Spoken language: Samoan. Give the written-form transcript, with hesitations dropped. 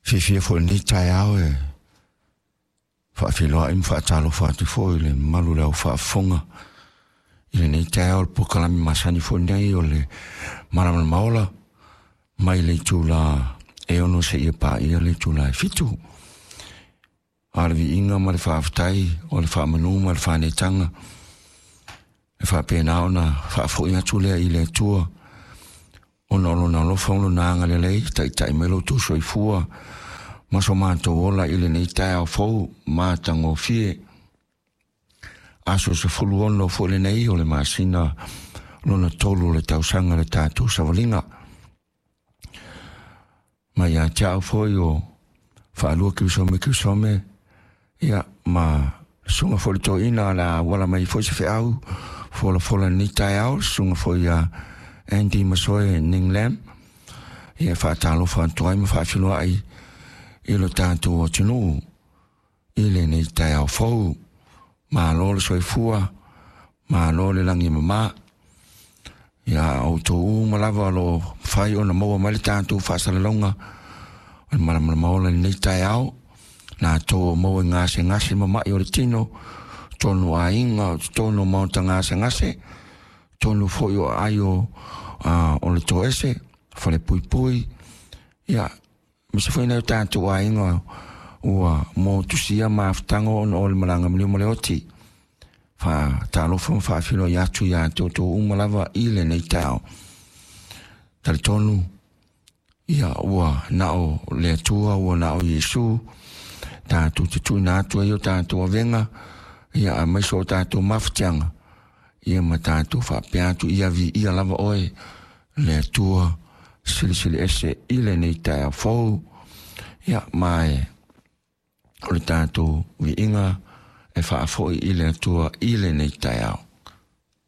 Fiafia foi i lenei taeao e faafeiloai ma faatalofa atu foi i le mamalu o le au faafofoga i lenei taeao, le polokalame masani foi nei o le Malamalama Ola mai le itula e 6 seia paia le itula e 7. A o le viiga ma le faafetai o le faamanu ma le faanetaga e faapena ona faafoi atu lea i le Atua, ona o lona alofa ma lona agalelei, taitai mai lo outou soifua ma so matou ola i lenei taeao fou matagofie. Aso 16 foi lenei o le masina lona 3 o le tausaga le tatou savaliga. Ma ia te au foi o Faalua Kirisome Kirisome, ia ma susuga foi le toeaina o le a auala mai foi se feau folafola lenei taeao, susuga foi ia Andy Masoe Ning Lam. Ia faatalofa atu ai ma faafiloai i lo tatou atunuu i lenei taeao fou. Malo le soifua, malo le lagi e mama. Ia outou uma lava o lo o mafai ona maua mai le tatou faasalalauga o le Malamalama Ola i lenei taeao, latou o maua i gasegase ma mai o le tino, tonu aiga, totonu o maota gasegase, tonu foi o aai o le toese, fale puipui, ia, ma se foi nai o tatou aiga ua motusia mafutaga ona o le malaga maliu ma le oti. Faatalofa ma faafeiloai atu ia te outou uma lava i lenei taeao. Talitonu, ia ua nao le Atua, ua nao Iesu, tatou te tuuina atu ai o tatou avega, ia aemaise o tatou mafatiaga, ia ma tatou faapea atu, ia viia lava oe le Atua silisili ese i lenei taeao fou. Ia ma e o le tatou viiga e faafoi i le Atua i lenei taeao.